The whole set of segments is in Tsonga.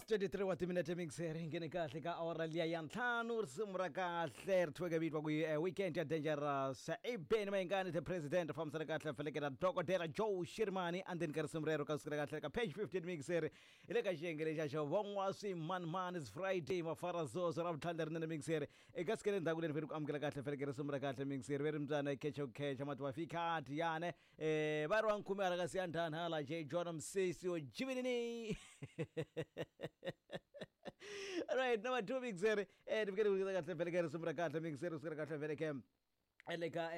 23 wa timinete mixer hi nghene kahle ka awara liya ya ntlhanu risimu ra kahle ri thyiweke vito ku weekend ya dangerous i beni mayingani the president fambisana kahle felekela dokodela joe shirimani andzeni ka risimu rero ka sukela kahle ka page 15 mixer hi le ka xiyenge lexa xo von'wa swimanimani is friday mafarazozo ra vutlhari lerinene mixer eka sike le ndzhaku leri veri ku amukela kahle feleke risimu ra kahle mixer veri mbyana khecha ku khecha mati wa fika tiyane va ri wa nkhume hala ka siyandhani hala j john msisi wo jivinini. Right, number 2 mixer ni fikele ku kahle feleke risimu ra kahle mixer sukela kahle feleke le ka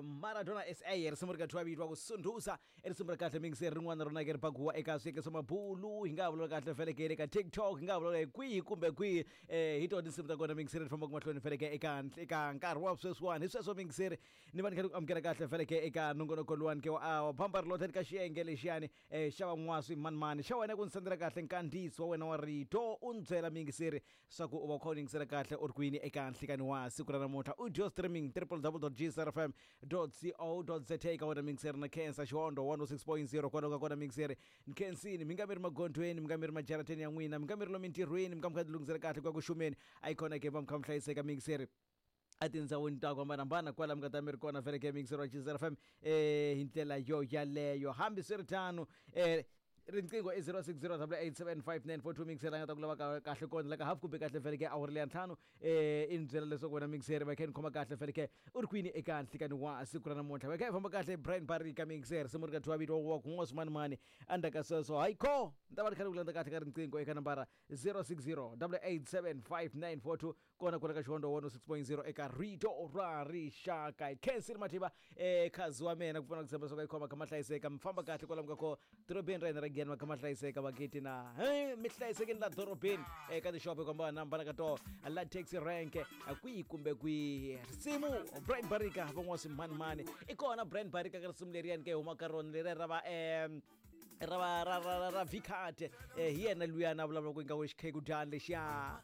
Maradona SA risimu ri ka thiwa vito wa ku sunduza i risimu ra kahle mixer rin'wana rona ke ri pakuwa eka swiyenge swa mabulu hi nga ha vulavula kahle feleke le ka TikTok hi nga ha vulavula hi kwihi kumbe kwihi hi tona tinsimu ta kona mixer ti fambaka mahlweni feleke eka nkarhi wa sweswiwani hi sweswo mixer ni va ni kha ni ku amukela kahle feleke eka nongonoko luwani ke wa bamba ri lothe ka xiyenge lexiyani xa van'waswi manimani xa wena ku ni sendela kahle nkandziyiso wa wena wa rito u ni byela miyingiseri swa ku u va u kha u yingisela kahle u ri kwini eka nhlikani wa siku ra namuntlha audio streaming www.gcrfm.co.za ka wena miyingiseri na khensa xihondo 106.0 kwalomu ka kona miyingiseri ni khensini mi nga mi ri magondzweni mi nga mi ri majarateni ya n'wina mi nga mi ri lomu mintirhweni mi nga mi kha ti lunghisela kahle ku ya ku xumeni a yi kona ke va mi kha mi hlayiseka miyingiseri etindhawini ta ku hambanahambana kwala mi nga ta mi ri kona vele ke miyingiseri wa Gcr FM hi ndlela yo yaleyo hambiswiritano riqingho i 0608875942 mixer a nga ta ku lava kahle kona la ka half kumbe kahle vele ke awara leya ntlhanu i ni byela leswaku wena mixer va kha ni khoma kahle vele ke u ri kwini eka nhlikani wa siku ra namuntlha va kha hi famba kahle Brian Barika mixer risimu ri ka thiwa vito wa ku n'wa swimanimani endzhaku ka sweswo hayi kho ni ta va ni kha ni ku landza kahle ka riqingho eka nambara 0608875942 kona kwala ka xihondo 106.0 eka rito ra rixaka hi khensile mativa khazi wa mina ku pfuna ku tshemba swa ka yi khoma kha ma hlayiseka mi famba kahle kwalamu ka ko dorobeni ra hina ra giyani ma kha ma hlayiseka vakiti na mi hlayisekeni la dorobeni eka tixopo ku hambanahambana ka toho la taxi rank kwihi kumbe kwihi risimu Brian Barika van'wa swimanimani i kona Brian Barika ka risimu leriyani ke huma ka rona leriya ra va ra va ra ra ra, ra vcard hi yena luyana a vulavula ku ingaku xikhekudyani lexiya.